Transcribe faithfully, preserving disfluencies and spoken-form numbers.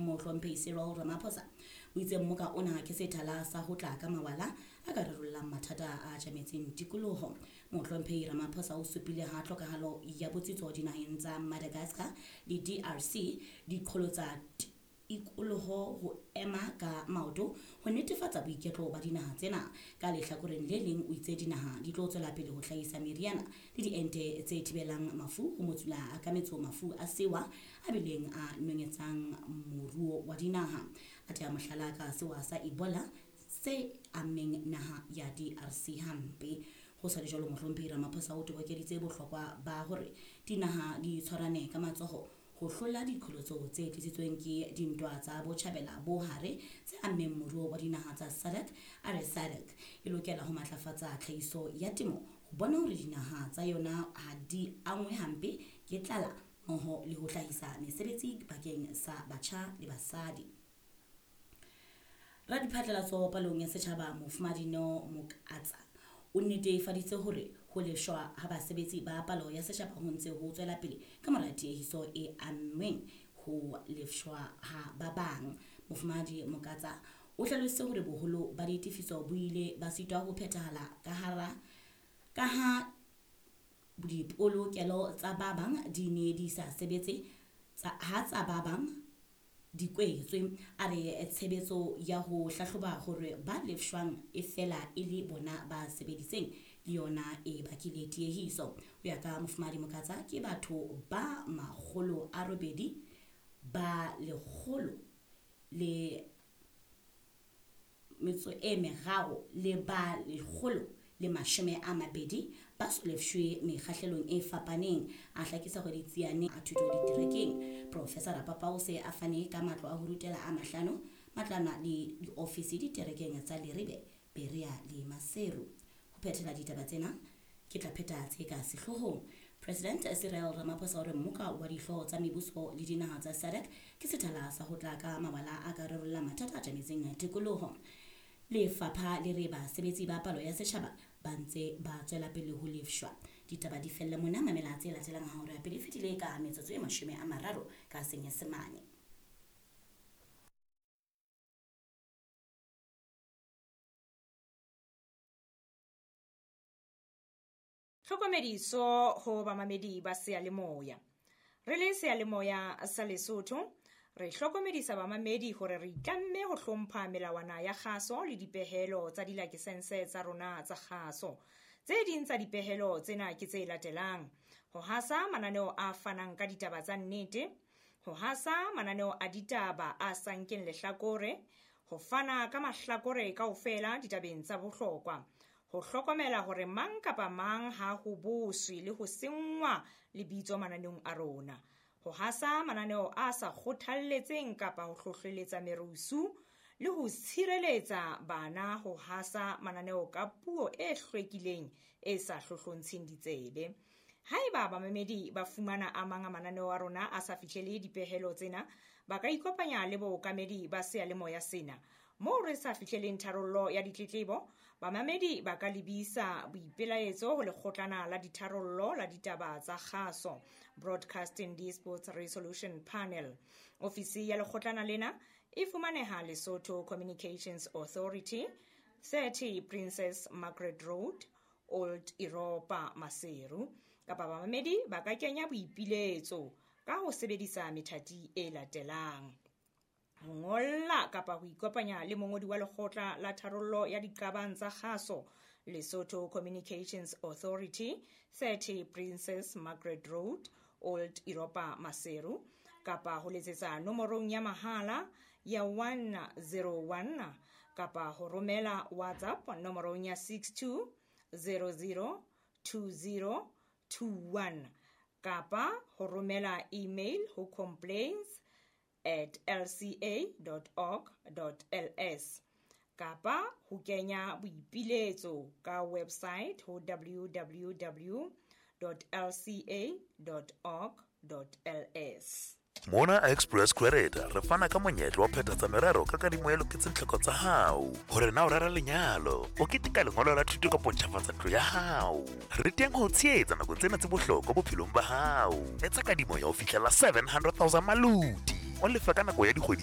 Mohlomphehi Cyril Ramaphosa o itse mmoka ona ke sethala sa ho tla ka mawala a ka rarollang mathata a tjametseng tikoloho. Mohlomphehi Ramaphosa o supile ha tlhokahalo ya botsitso dinaheng tsa Madagascar le D R C diqholotsa tikoloho ho ema ka maoto ho netefatsa boiketlo ba dinaha tsena. Ka lehlakoreng le leng o itse dinaha di tlo tswela pele ho hlahisa meriana le diente tse thibelang mafu ho motsula ka metso mafu a sewa a bileng a nonyetsang moruo wa dinaha. A tea mohlala ka sewa sa Ebola se ammeng naha ya D R C hampe. Ho sa le jwalo, Mohlomphehi Ramaphosa o tobokeditse bohlokwa ba hore dinaha di tshwarane ka matsoho ho hlola diqholotso tse tlisitsweng ke dintwa tsa botjhabela bo hare tse ammeng moruo wa dinaha tsa S A D C. A re S A D C e lokela ho matlafatsa tlhahiso ya temo ho bona hore dinaha tsa yona ha di angwe hampe ke tlala mmoho le ho hlahisa mesebetsi bakeng sa batjha le basadi. Radiphatlalatso palong ya setjhaba Mofumahadi Neo Mokatsa o netefaditse hore ho lefshwa ha basebetsi ba palo ya setjhaba ho ntse ho tswela pele ka mora tiehiso e ammeng ho lefshwa ha ba bang. Mofumahadi Mokatsa o hlalositse hore boholo ba ditefiso bo ile ba sitwa ho phethahala ka hara ka ha dipolokelo tsa ba bang di ne di sa sebetse tsa ha tsa ba bang di kwetswe. A re tshebetso ya ho hlahloba hore ba lefshwang e fela e le bona ba sebeditseng le yona e bakile tiehiso. Ho ya ka Mofumahadi Mokatsa, ke batho ba makgolo a robedi ba lekgolo le metso e meraro le ba lekgolo le mashome a mabedi ba so lefshwe mekgahlelong e fapaneng. A hlakisa hore ditsiane a thuto diterekeng. Professor Rapapa o se a fane ka matlo a ho rutela a mahlano, matlwana le diofisi diterekeng tsa Leribe, Berea le Maseru. Ho phethela ditaba tsena ke tla pheta tse ka sehloohong. President Cyril Ramaphosa o re mmoka wa dihlooho tsa mebuso le dinaha tsa S A D C ke sethala sa ho tla ka mabala a ka rarolla mathata a tjametseng tikoloho. Lefapha le re basebetsi ba palo ya setjhaba ba ntse ba tswela pele ho lefshwa. Ditaba di felle mona, mamela tse latelang ha hora ya pele e fetile ka metsotso e mashome a mararo ka Senyesemane. Tlhokomediso ho bamamedi ba seyalemoya. Re le seyalemoya sa Lesotho, re hlokomedisa bamamedi hore re itlamme ho hlompha melawana ya kgaso le dipehelo tsa dilakesense tsa rona tsa kgaso. Tse ding tsa dipehelo tsena ke tse latelang: ho hasa mananeo a fanang ka ditaba tsa nnete, ho hasa mananeo a ditaba a sa nkeng lehlakore, ho fana ka mahlakore kaofela ditabeng tsa bohlokwa, ho hlokomela hore mang kapa mang ha ho boswe le ho senngwa lebitso mananeong a rona, ho hasa mananeo a sa kgothalletseng kapa ho hlohleletsa merusu, le ho tshireletsa bana ho hasa mananeo ka puo e hlwekileng e sa hlohlontsheng ditsebe. Haeba bamamedi ba fumana a mang a mananeo a rona a sa fihlele dipehelo tsena, ba ka ikopanya le bookamedi ba seyalemoya sena. Moo re sa fihleleng tharollo ya ditletlebo, bamamedi ba ka lebisa boipelaetso ho lekgotlana la ditharollo la ditaba tsa kgaso, Broadcasting Disputes Resolution Panel. Ofisi ya lekgotlana lena e fumaneha Lesotho Communications Authority, thirty Princess Margaret Road, Old Europa, Maseru. Kapa bamamedi ba ka kenya boipiletso ka ho sebedisa methati e latelang: ho ngolla kapa ho ikopanya le mongodi wa lekgotla la tharollo ya diqabang tsa kgaso, Lesotho Communications Authority, thirty Princess Margaret Road, Old Europa, Maseru, kapa ho letsetsa nomorong ya mahala ya one zero one kapa ho romela WhatsApp nomorong ya six two zero zero two zero two one kapa ho romela email ho complaints at l c a dot org dot l s kapa ho kenya boipiletso ka website ho w w w dot l c a dot org dot l s. Mona Express Credit re fana ka monyetla wa phethatsa merero ka kadimo e loketseng tlhoko tsa hao. Hore na o rera lenyalo, o keteka lengolo la thuto kapa o ntjhafatsa ntlo ya hao. Re teng ho tshehetsa nakong tsena tse bohlokwa bophelong ba hao. Etsa kadimo ya ho fihlela seven hundred thousand maluti. O lefa ka nako ya dikgwedi